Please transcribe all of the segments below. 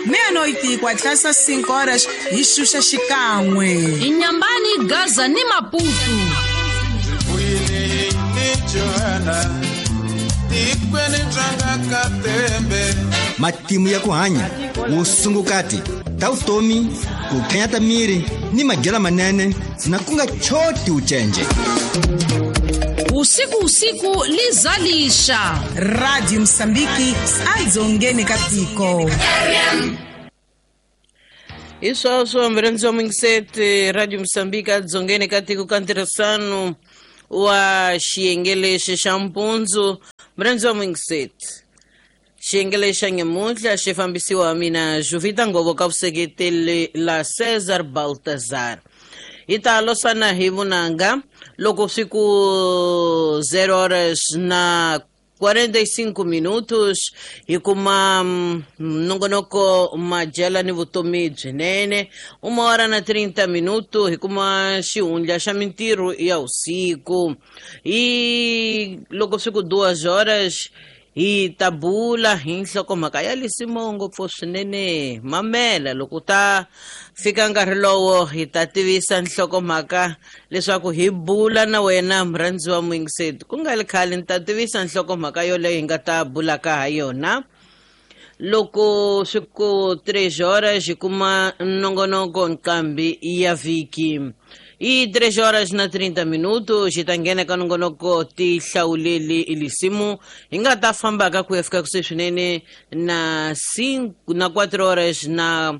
Meia-noite e 4 às 5 horas hi xuxa xikan'we. Inyambani, Gaza ni Maputo. Matimu ya ku hanya vusungukati ta vutomi ku khenyata miri ni madyela manene na ku nga choti ucenje. Usiku usiku lizalisha. Radio Mosambiki adzongeni ka tiko. Hi sweswo murhandzi wa mingiseti Radio Mosambiki adzongeni ka tiko ka ntirhisano wa xiyenge lexi xa mpundzu. Murhandzi wa mingiseti, xiyenge lexi xa nyamuntlha xi fambisiwa mina Juvita Ngovo ka vuseketeli la Cesar Baltazar. Hi ta losana hi vunanga loko swi ku 0 horas na 45 minutos hi kuma nongonoko madyela ni vutomi byinene. Uma hora na 30 minuto hi kuma xihundla xa mintirho ya vusiku. Hi loko swi ku 2 horas hi ta bula hi nhlokomhaka ya lisimo ngopfu swinene. Mamela loko ta fika nkarhi lowo hi ta tivisa nhlokomhaka leswaku hi bula na wena murhandzi wa muyingiseti. Ku nga ri khale ni ta tivisa nhlokomhaka yoleyo hi nga ta bulaka ha yona. Loko swi ku 3 horas hi kuma nongonoko nqambi ya vhiki. Hi 3 horas na 30 minutos hi ta nghena ka nongonoko tihlawuleli lisimu hi nga ta fambaka ku ya fika kusuhi swinene na 5 na 4 horas na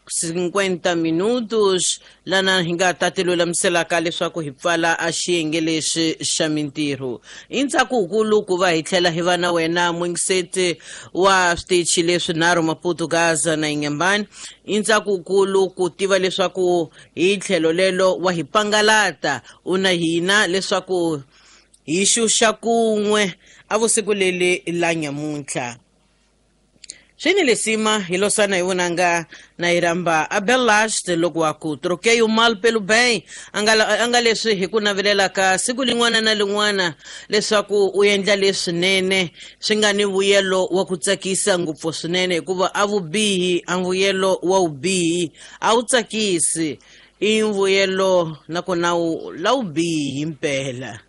50 minutos lana hi nga ta tilulamiselaka leswaku hi pfala a xiyenge lexi xa mintirho. I ntsako wukulu ku va hi tlhela hi va na wena muyingiseti wa switichi leswinharhu Maputo, Gaza na Inhambane. I ntsako wukulu ku tiva leswaku hi tlhelo lelo wa hi pangalata u na hina leswaku hi xuxa kun'we a vusiku leli la nyamuntlha. Swi ni lesima hi losana hi vunanga na hi rhamba Abelast loko wa ku troquei o mal pelo bem a nga leswi hi ku navelelaka siku lin'wana na lin'wana leswaku u endla leswinene swi nga ni vuyelo wa ku tsakisa ngopfu swinene, hikuva a vubihi a vuyelo wa vubihi a wu tsakisi, i vuyelo nakona wu la vubihi mpela.